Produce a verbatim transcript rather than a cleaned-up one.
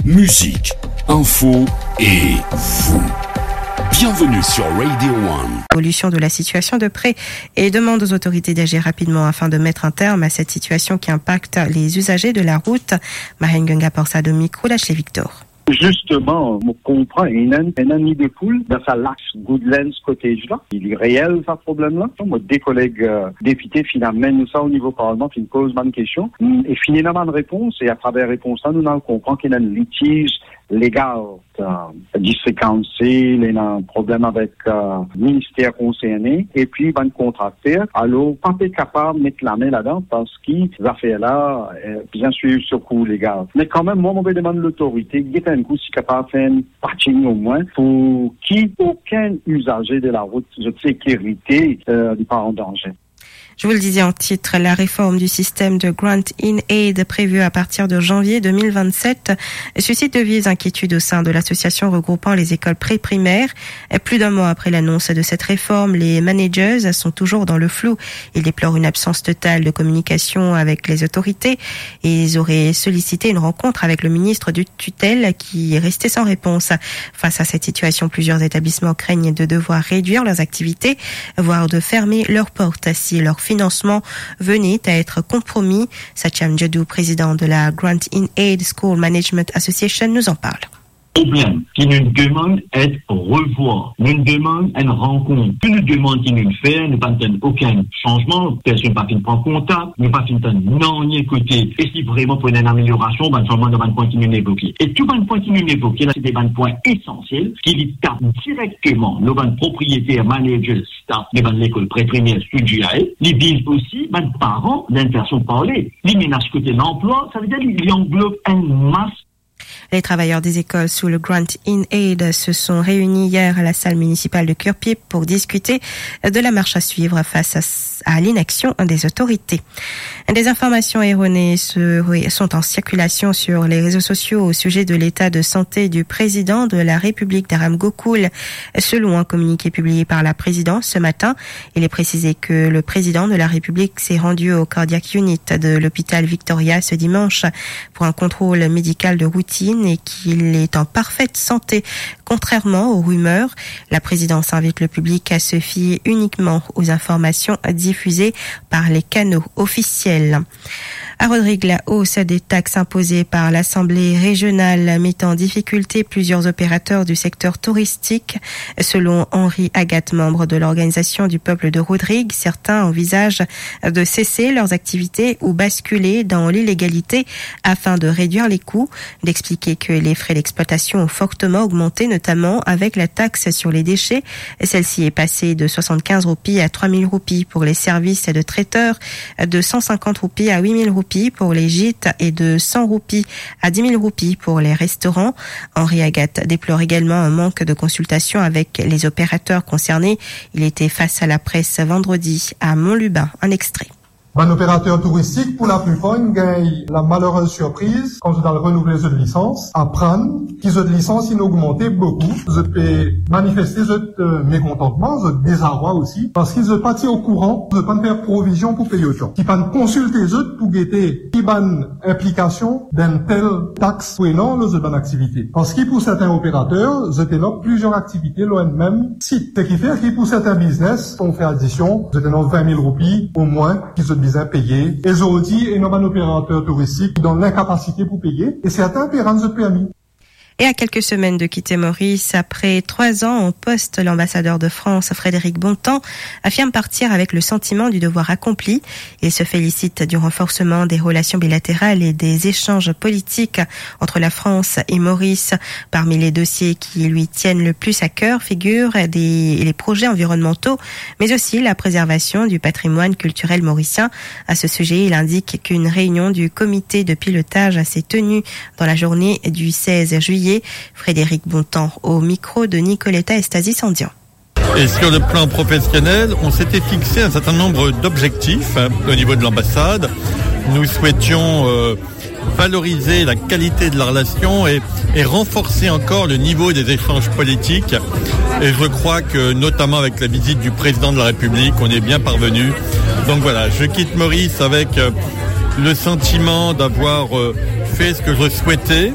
Musique, info et vous. Bienvenue sur Radio One. Évolution de la situation de près et demande aux autorités d'agir rapidement afin de mettre un terme à cette situation qui impacte les usagers de la route. Mahen Gunga Porsado, micro d'Ashley Victor. Justement, mo konpran, ena, ena nidefoul dan sa laks Goodlands Cottage la. Li reel sa problem la. Mo de koleg, euh, depite finn amenn nou sa o nivo parlman, finn poz bann kestion, e finn ena bann repons, e atraver repons la, nou, nou konpran ki ena enn litiz legal, euh, District Council, ena problem avek, euh, minister konserne, epi bann kontrakter. Alor, pa pe kapav met lame ladan, parski zafer la, euh, bizin swiv so kour legal. Me kanmem, mwa, mo pe demann lotorite, get enn kou si kapav fer enn patching omwin, pou ki okenn izaze de la rout, zot sekirite, euh, li pa an danze. Je vous le disais en titre, la réforme du système de Grant in Aid prévue à partir de janvier deux mille vingt-sept suscite de vives inquiétudes au sein de l'association regroupant les écoles pré-primaires. Plus d'un mois après l'annonce de cette réforme, les managers sont toujours dans le flou. Ils déplorent une absence totale de communication avec les autorités et ils auraient sollicité une rencontre avec le ministre de tutelle qui est resté sans réponse. Face à cette situation, plusieurs établissements craignent de devoir réduire leurs activités, voire de fermer leurs portes si leur financement venait à être compromis. Satyam Jadoo, président de la Grant in Aid School Management Association, nous en parle. Problem ki nou demann et revwar. Nou demann enn rankont. Tou nou demann ki nou fer, nou pa tann okenn sanzman, personn pa finn pran kontak, nou pa finn tann nanye kote. E si vreman pou ena enn ameliorasion, bann sanzman dan bann pwin ki nou evoke. E tou bann pwin ki nou evoke la, se de bann pwin esansiel ki li tap direkteman lor bann propriyeter, manager, staff de bann lekol pre-primer, sou G I A. Li viz osi bann paran, dan enn fason parle. Li menas kote lanplwa, savedir li, li anglob enn mas. Les travailleurs des écoles sous le Grant in Aid se sont réunis hier à la salle municipale de Curepipe pour discuter de la marche à suivre face à, à l'inaction des autorités. Des informations erronées se-, sont en circulation sur les réseaux sociaux au sujet de l'état de santé du président de la République, Dharam Gokul. Selon un communiqué publié par la présidence ce matin, il est précisé que le président de la République s'est rendu au cardiac unit de l'hôpital Victoria ce dimanche pour un contrôle médical de routine et qu'il est en parfaite santé. Contrairement aux rumeurs, la présidence invite le public à se fier uniquement aux informations diffusées par les canaux officiels. À Rodrigues, la hausse des taxes imposées par l'Assemblée régionale met en difficulté plusieurs opérateurs du secteur touristique. Selon Henri Agathe, membre de l'Organisation du Peuple de Rodrigues, certains envisagent de cesser leurs activités ou basculer dans l'illégalité afin de réduire les coûts. D'expliquer que les frais d'exploitation ont fortement augmenté, notamment avec la taxe sur les déchets. Celle-ci est passée de soixante-quinze roupies à trois mille roupies pour les services de traiteur, de cent cinquante roupies à huit mille roupies pour les gîtes et de cent roupies à dix mille roupies pour les restaurants. Henri Agathe déplore également un manque de consultation avec les opérateurs concernés. Il était face à la presse vendredi à Mont-Lubin. Un extrait. Bann operater touristik, pou laplipar, inn gagn la malerez sirpriz, kan zot al renouvle zot lisans, aprann ki zot lisans inn ogmante boukou. Zot pe manifeste zot, euh, mekontantman, zot dezarwa osi, parski zot pa ti okouran, zot pa'nn fer provizion pou pey otan. Ki pa'nn konsilte zot pou gete ki bann inplikasion d'enn tel tax pou ena lor zot bann aktivite. Parski pou sertin operater, zot ena plizier aktivite lor enn mem sit. Seki fer ki pou sertin biznes, kan ou fer adision, zot ena vin mil roupi omwin ki zot bizin peye. E zordi, ena bann operater touristik dan linkapasite pou peye, e sertin pe rann zot permi. Et à quelques semaines de quitter Maurice, après trois ans en poste, l'ambassadeur de France, Frédéric Bontemps, affirme partir avec le sentiment du devoir accompli. Il se félicite du renforcement des relations bilatérales et des échanges politiques entre la France et Maurice. Parmi les dossiers qui lui tiennent le plus à cœur figurent des, les projets environnementaux, mais aussi la préservation du patrimoine culturel mauricien. À ce sujet, il indique qu'une réunion du comité de pilotage s'est tenue dans la journée du seize juillet. Frédéric Bontemps au micro de Nicoletta Estasi-Sandian. Et sur le plan professionnel, on s'était fixé un certain nombre d'objectifs, hein, au niveau de l'ambassade. Nous souhaitions, euh, valoriser la qualité de la relation et, et renforcer encore le niveau des échanges politiques. Et je crois que, notamment avec la visite du président de la République, on est bien parvenu. Donc voilà, je quitte Maurice avec, euh, le sentiment d'avoir, euh, fait ce que je souhaitais.